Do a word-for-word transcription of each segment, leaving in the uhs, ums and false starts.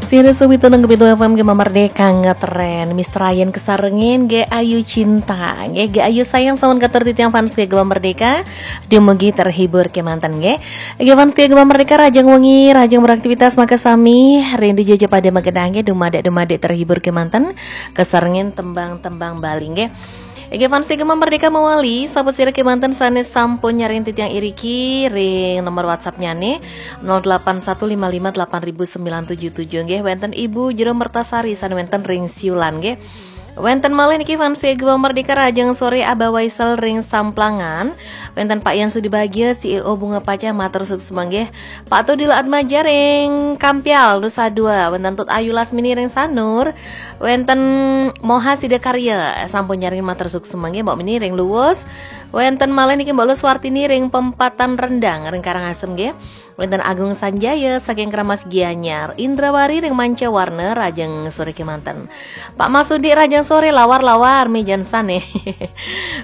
Sira sawito nang kepitu F M Gema Merdeka ngetren. Mister Ryan kesarengin, Ge Ayu Cinta. Ge, Ge Ayu Sayang sampun katur titiang fans Gema Merdeka. Dumugi terhibur kemanten ge. Ge fans Gema Merdeka, rahajeng wengi, rahajeng beraktivitas makasami. Ring dija ja pada magenah ge, dumadak-dumadak terhibur kemanten. Kesarengin tembang-tembang Bali ge. Inggih fans Gema Merdeka mawali, sapasira kemanten sane sampun nyarengin titiang iriki ring nomor WhatsApp-nyane nol delapan satu lima lima delapan ribu sembilan tujuh tujuh nggih, wenten Ibu Jero Mertasari sane wenten ring Siulan nggih. Wenten malih niki fans Gema Merdeka, rahajeng sore Abah Waisel ring Samplangan. Wenten Pak Yan Sudi Bagia, C E O Bunga Pacah, matur suksma nggih. Pak Tudil Atmaja ring Kampial, Nusa Dua. Wenten Tut Ayu Lasmini ring Sanur. Wenten Moha Sidakarya, sampun nyarengin, matur suksma nggih, Mbok Mini ring Luwus. Wenten malih niki Mbok Luswartini ring Pempatan Rendang ring Karangasem nggih. Wenten Agung Sanjaya saking Kramas Gianyar, Indrawari ring Mancawarna, rahajeng sore kemanten. Pak Masudi, rahajeng sore, lawar-lawar mejan sane.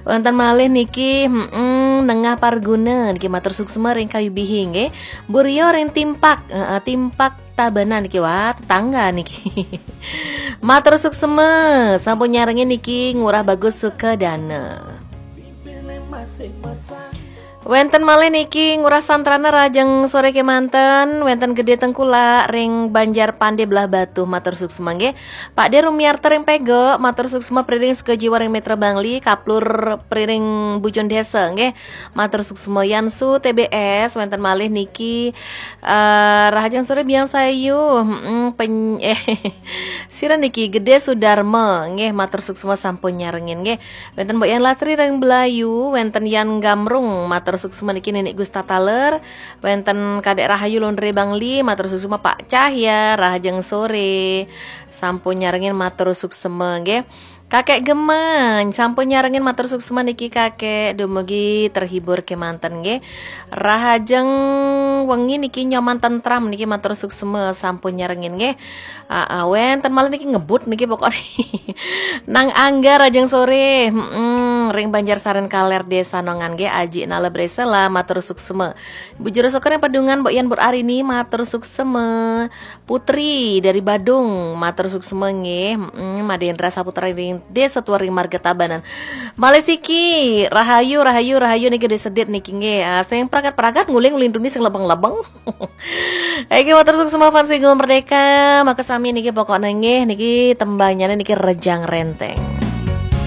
Wenten malih niki, mm, Nengah Parguna niki, matur suksma ring Kayu Bihing nggih. Bu Rio ring Timpak, heeh, Timpak Tabanan niki, wah, tetangga niki. Matur suksma, sampun nyarengin niki Ngurah Bagus Sukadana. Wenten malih niki Ngurah Santrana, rahajeng sore kemanten, wenten Gede Tengkulak ring Banjar Pande Blahbatuh, matur suksma nggih. Pak De Rumiarta ring Pego, matur suksma, Priring Sukajiwa ring Mitra Bangli, Kaplur Priring Bujun Desa nggih. Matur suksma. Yansu T B S, wenten malih niki, eh, rahajeng sore Biang Sayu, mm, peny-, eh, sira niki Gede Sudarma nggih, matur suksma sampun nyarengin nggih. Wenten Mbok Yan Lastri ring Belayu, wenten Yan Gamrung, matur suksma niki Nenek Gusta Taler, wenten Kadek Rahayu Londre Bangli, matur suksma Pak Cahya, rahajeng sore, sampun nyarengin, matur suksma nggih. Kakek Geman, sampun nyarengin, matur suksma niki Kakek, dumugi terhibur kemanten nggih. Rahajeng wengi niki Nyoman Tentram niki, matur suksma sampun nyarengin nggih. Aa, wenten malih niki ngebut niki pokokne. Nang Angga, rahajeng sore, mm, ring Banjar Saren Kaler Desa Nongan nggih, Aji Nala Bresela, matur suksma. Ibu Jero Soker ring Pedungan, Mbok Yan, Mbok Arini, matur suksma. Putri dari Badung, matur suksma nggih. Mm, Madendra Saputra ring Desa Tua ring Marga Tabanan. Malih siki, rahayu, rahayu, rahayu niki Gede Sedit niki nggih. Ah, sing pragat-pragat, nguling-nguling duni sing lebeng-lebeng. Oke, matur suksma fans Gema Merdeka. Makasami niki pokoknya nggih, niki tembangnyané niki Rejang Renteng.